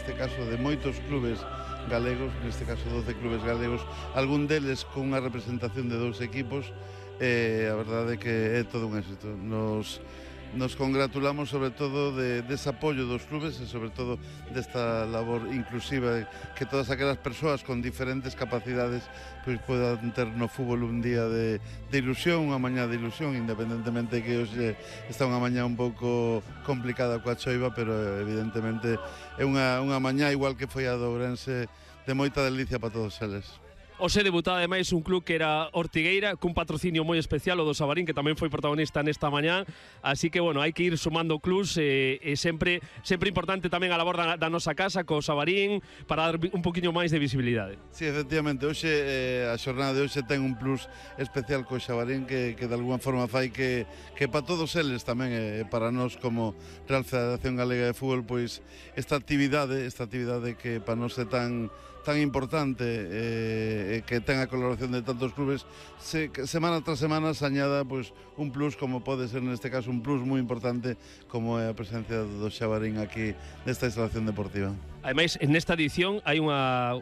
neste caso, de moitos clubes galegos, neste caso 12 clubes galegos, algún deles con unha representación de 2 equipos, a verdade é que é todo un éxito. Nos congratulamos sobre todo dese apoio dos clubes e sobre todo desta labor inclusiva, que todas aquelas persoas con diferentes capacidades pois podan ter no fútbol un día de ilusión, unha mañá de ilusión, independentemente que hoxe está unha mañá un pouco complicada coa choiva, pero evidentemente é unha mañá igual que foi a do Ourense, de moita delicia para todos eles. Hoxe debutaba ademais un club que era Ortigueira, cun patrocinio moi especial, o do Sabarín, que tamén foi protagonista nesta mañá, así que, bueno, hai que ir sumando clubs e sempre importante tamén a labor da nosa casa, co Sabarín, para dar un poquinho máis de visibilidade. Sí, efectivamente, hoxe, a xornada de hoxe ten un plus especial co Sabarín que de alguna forma fai que para todos eles tamén, para nós como Real Federación Galega de Fútbol, pois esta actividade que para nós é tan importante, que ten a colaboración de tantos clubes, semana tras semana se añada pois un plus, como pode ser neste caso un plus moi importante, como é a presencia do Sabarín aquí nesta instalación deportiva. Ademais, nesta edición hai unha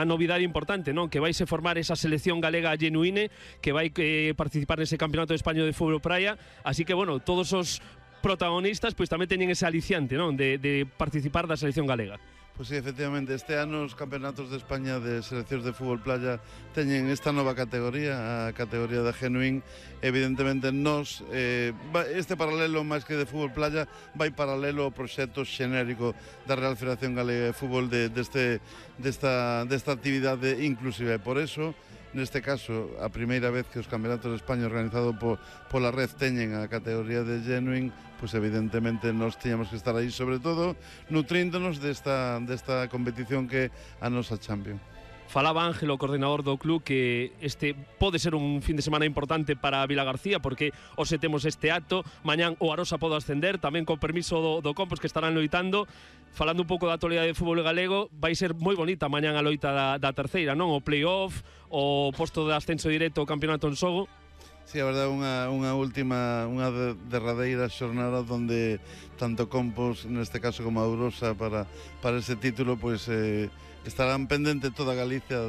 novidade importante, non? Que vaise formar esa selección galega genuíne que vai participar nese Campeonato de España de Fútbol Praia, así que, bueno, todos os protagonistas pois tamén teñen ese aliciante, non? De participar da selección galega. Pois sí, efectivamente, este ano os campeonatos de España de seleccións de fútbol playa teñen esta nova categoría, a categoría da Genuín. Evidentemente, este paralelo máis que de fútbol playa vai paralelo ao proxecto xenérico da Real Federación Galega de Fútbol desta actividade inclusiva. E por eso, neste caso, a primeira vez que os campeonatos de España organizados pola Red teñen a categoría de Genuine, pois evidentemente nós tiñamos que estar aí, sobre todo nutríndonos desta competición que é a nosa Champions. Falaba Ángel, o coordinador do club, que este pode ser un fin de semana importante para Vila García, porque hoxe temos este acto, mañán o Arosa pode ascender, tamén con permiso do Compos, que estarán loitando. Falando un pouco da actualidade de fútbol galego, vai ser moi bonita mañán a loita da terceira, non? O play-off, o posto de ascenso directo ao campeonato en xogo. Sí, a verdade, unha derradeira xornada onde tanto Compos, neste caso, como a Arosa para ese título, pois estarán pendente toda Galicia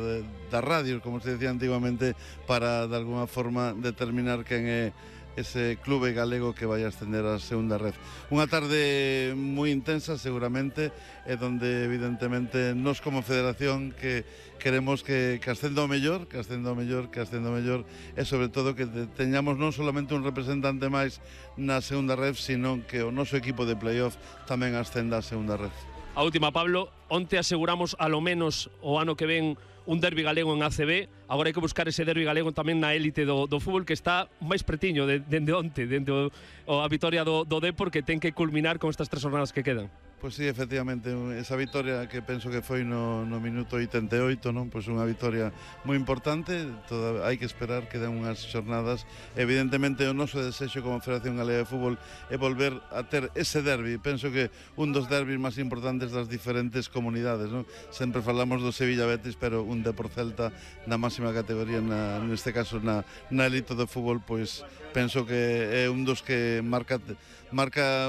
das radios, como se decía antiguamente, para de alguna forma determinar quen é ese clube galego que vai ascender a segunda red. Unha tarde moi intensa seguramente, e donde evidentemente nós como federación que queremos que ascenda o mellor, e sobre todo que teñamos non solamente un representante máis na segunda red, sino que o noso equipo de playoff tamén ascenda a segunda red. A última, Pablo, onte aseguramos a lo menos o ano que ven un derbi galego en ACB, agora hai que buscar ese derbi galego tamén na élite do fútbol, que está máis pretiño dende onte, dende a vitoria do Depor, que ten que culminar con estas 3 jornadas que quedan. Pois sí, efectivamente, esa vitoria que penso que foi no minuto 88, non? Pois unha vitoria moi importante, hai que esperar que den unhas xornadas. Evidentemente, o noso desexo como Federación Galega de Fútbol é volver a ter ese derbi. Penso que un dos derbis máis importantes das diferentes comunidades, non? Sempre falamos do Sevilla Betis, pero un Depor Celta na máxima categoría, neste caso na elite do fútbol, pois penso que é un dos que marca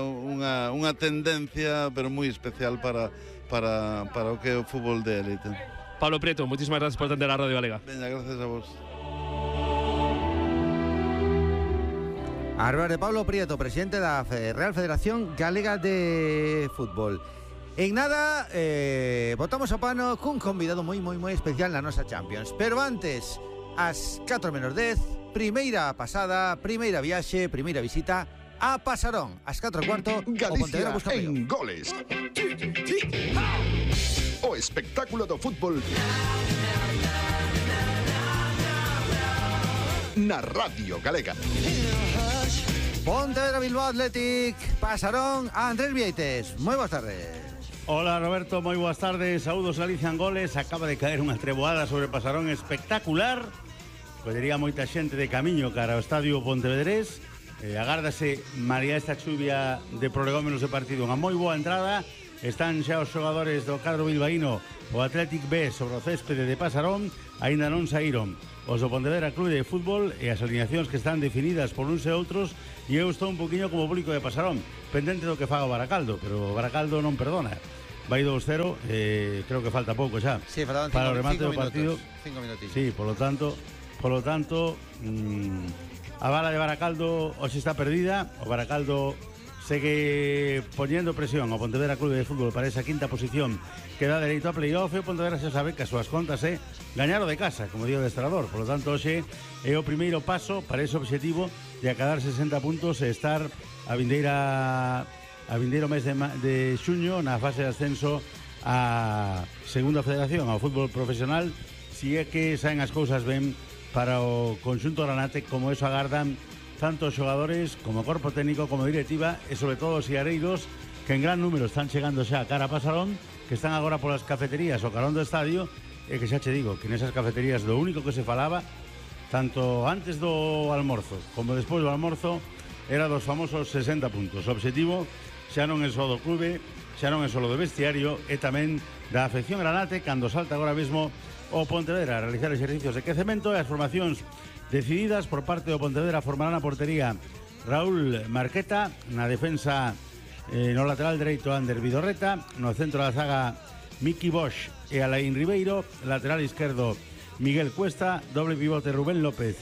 unha tendencia, pero moi especial para o que é o fútbol de élite. Pablo Prieto, moitísimas gracias por atender a Radio Galega. Veña, gracias a vos. A de Pablo Prieto, presidente da Real Federación Galega de Fútbol. En nada, botamos o pano cun convidado moi especial na nosa Champions. Pero antes, ás 4:10, primeira pasada, primeira viaxe, primeira visita a Pasarón, ás 4:15, Galicia en goles. O espectáculo do fútbol na Radio Galega. Pontevedra Bilbao Athletic, Pasarón, Andrés Vieites. Moi boas tardes. Hola Roberto, moi boas tardes. Saúdos Galicia en goles. Acaba de caer unha treboada sobre Pasarón espectacular. Podería moita xente de camiño cara ao estadio Pontevedrés. Agárdase malia esta chuvia de prolegómenos de partido unha moi boa entrada. Están xa os xogadores do cadro bilbaíno, o Athletic B, sobre o céspede de Pasarón. Aínda non saíron os do Pontevedra Clube de Fútbol e as alineacións que están definidas por uns e outros, e eu estou un poquinho como público de Pasarón, pendente do que faga o Baracaldo, pero o Baracaldo non perdona. vai 2-0, creo que falta pouco xa. Sí, faltaban para o remate do partido. 5 minutos. Sí, por lo tanto, a bala de Baracaldo hoxe está perdida. O Baracaldo segue poñendo presión ao Pontevedra Clube de Fútbol para esa quinta posición que dá dereito a playoff. E o Pontevedra xa sabe que as súas contas é gañar o de casa, como digo o adestrador. Por lo tanto, hoxe é o primeiro paso para ese objetivo de acadar 60 puntos e estar a vindeiro mes de xuño na fase de ascenso a Segunda Federación, ao fútbol profesional, si é que saen as cousas ben para o conxunto granate, como eso agardan tanto xogadores como corpo técnico como directiva e sobre todo os iareiros que en gran número están chegando xa a cara a Pasarón, que están agora polas cafeterías o carón do estadio, e que xa che digo que nesas cafeterías lo único que se falaba tanto antes do almorzo como despois do almorzo era dos famosos 60 puntos. O obxectivo xa non é só do clube, xa non é só do vestiario, e tamén da afección granate cando salta agora mesmo o Pontevedra a realizar exercicios de quecemento. E as formacións decididas por parte do Pontevedra formarán a portería Raúl Marqueta, na defensa no lateral dereito Ander Vidorreta, no centro da zaga Miki Bosch e Alain Ribeiro, lateral izquierdo Miguel Cuesta, doble pivote Rubén López,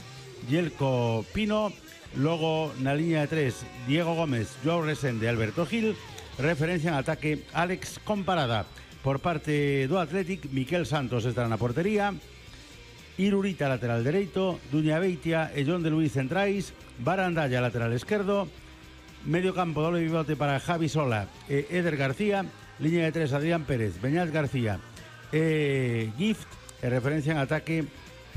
Yelko Pino, logo na liña de 3 Diego Gómez, Joao Resende, Alberto Gil, referencia en ataque Alex Comparada. Por parte do Athletic, Miquel Santos estará na portería, Irurita lateral dereito, Duña Beitia e John de Luis centrais, Barandalla lateral esquerdo, medio campo doble pivote para Javi Sola e Eder García, liña de 3 Adrián Pérez, Beñat García e Gift, e referencia en ataque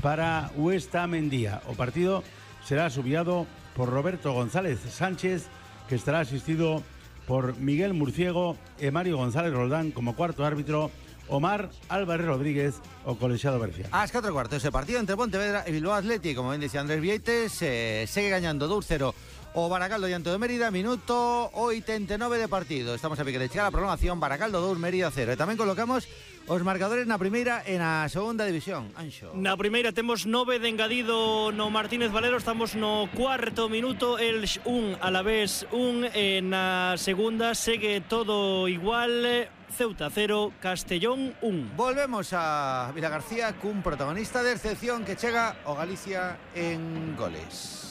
para Huesta Mendía. O partido será subiado por Roberto González Sánchez, que estará asistido por Miguel Murciego e Mario González Roldán como cuarto árbitro, Omar Álvarez Rodríguez o colexiado Bercia. Ás 4:15 ese partido entre Pontevedra e Bilbao Athletic, como ben dicía Andrés Vieites, segue gañando 2-0 o Baracaldo diante do Mérida, minuto 89 de partido. Estamos a pique de chegar a prolongación, Baracaldo 2, Mérida 0. E tamén colocamos os marcadores na primeira e na segunda división. Anxo. Na primeira temos 9 de engadido no Martínez Valero, estamos no cuarto minuto, Elx 1, Alavés 1, e na segunda segue todo igual, Ceuta 0, Castellón 1. Volvemos a Vilagarcía cun protagonista de excepción que chega o Galicia en goles.